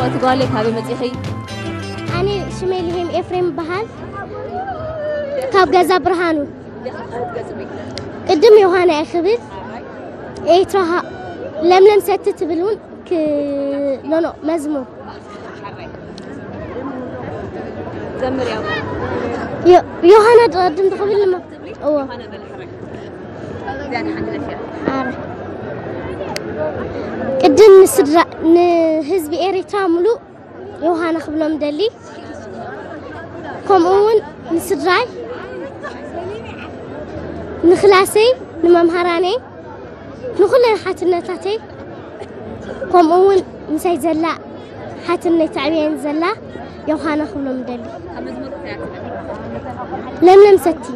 እቲ ጓለይ ካበይ መፂኺ? ኣነ ሽመይ ልሄም ኤፍሬም ይበሃል። ካብ ገዛ ብርሃኑ። ቅድም ዮሃና እየ ክብል። ኤርትራ ሃ-፣ ለምለም ሰቲ ትብል እውን ክ-፣ ኖ፣ ኖ፣ መዝሙር። ዘምር ያው። ዮ-፣ ዮሃና ቅድም ትኽብል እሞ። እዎ። ኣረ። ቅድም ንስድራ፣ ንህዝቢ ኤሪትራ ሙሉእ ዮሃና ክብሎም ደሊ። ከምኡ እውን ንስድራይ፣ ንክላሰይ፣ ንመምሃራነይ፣ ንኩለን ሓትነታተይ፣ ከምኡ እውን ምሳይ ዘላ ሓትነይ ተዕብየን ዘላ ዮሃና ክብሎም ደሊ። ለምለም ሰቲ።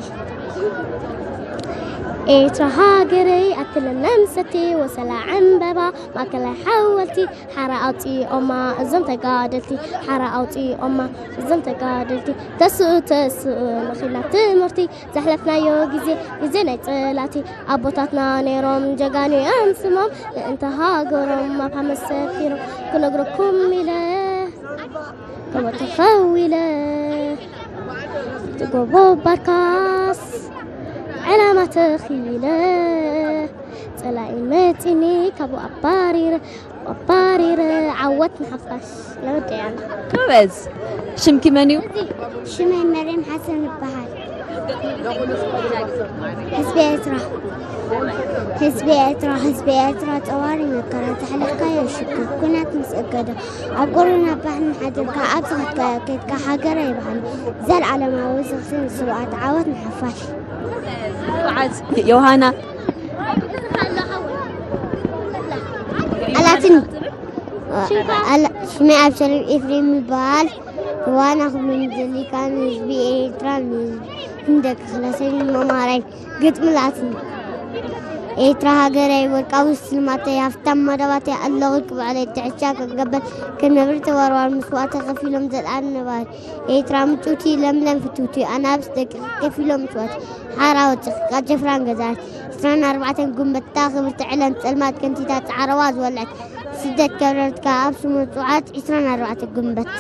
ኤርትራ ሃገረይ ኣቲ ለምለም ሰቲ፣ ወሰላ ዕምበባ ማእከላይ ሓወልቲ፣ ሓራ ኣውፂኦማ እዞም ተጋደልቲ፣ ሓራ ኣውፂኦማ እዞም ተጋደልቲ። ተስኡ ተስኡ ንኺድና ትምህርቲ፣ ዘሕለፍናዮ ግዜ ግዜ ናይ ፀላእቲ። ኣቦታትና ነይሮም ጀጋኑ እዮም ስሞም፣ ምእንቲ ሃገሮም ኣብ ሓመድ ሰፊሮም። ክነግረኩም ኢለ ጎቦ ተኸዊለ፣ እቲ ጎቦ ባርካስ ዕላማ ተኺለ፣ ጸላኢ መጺኒ ካብኡ ኣባሪረ፣ ኣባሪረ። ዓወት ንሓፋሽ። ለወደያና። ጎበዝ። ሽምኪ መን እዩ? ሽመይ መርየም ሓሰን ይበሃል። ህዝቢ ኤርትራ፣ ህዝቢ ኤርትራ፣ ህዝቢ ኤርትራ፣ ጸዋሪ መከራ ዘሕለፍካዮ ሽግር፣ ኩናት ምስ እገደ፣ ኣብ ጎረና ባሕርን ሓዲርካ፣ ኣብ ዝኸድካዮ ከድካ፣ ሃገረ ይብሃል። ዘልዓለማዊ ዝኽሪ ንስውኣት፣ ዓወት ንሓፋሽ። ዮሃና። ኣላትን። ኣላ-፣ ሽመይ ኣብሸሎም ኤፍሬም ይበሃል። ዋና ክብሉ ንደሊ ከኣ ንህዝቢ ኤርትራ፣ ንህዝቢ፣ ንደቂ ክላሰይ፣ ንመምሃራይ ግጥሚ ላትን። ኤርትራ ሃገረይ፣ ወርቃዊ ስልማተይ፣ ሃፍታም መደባተይ፣ ኣለኹ ክብዕለይ፣ ትሕቻ ክገበል፣ ክነብር ተዋርዋር፣ መስዋእቲ ከፊሎም ዘልኣለም ነባሪ። ኤርትራ ምጭውቲ፣ ለምለም ፍትውቲ፣ ኣናብስ ደቂ ከፊሎም መስዋእቲ። ሓራ ወፂኺ፣ ቃል ጀፍራን ገዛት፣ ዕስራን ኣርባዕተን ጉንበትታ፣ ክብርቲ ዕለን ጸልማት ከንቲታ፣ ጻዕረዋ ዝወልዐት፣ ስደት ከብረርትካ፣ ኣብ ስሙ ጽውዓት፣ ዕስራን ኣርባዕተ ጉንበት።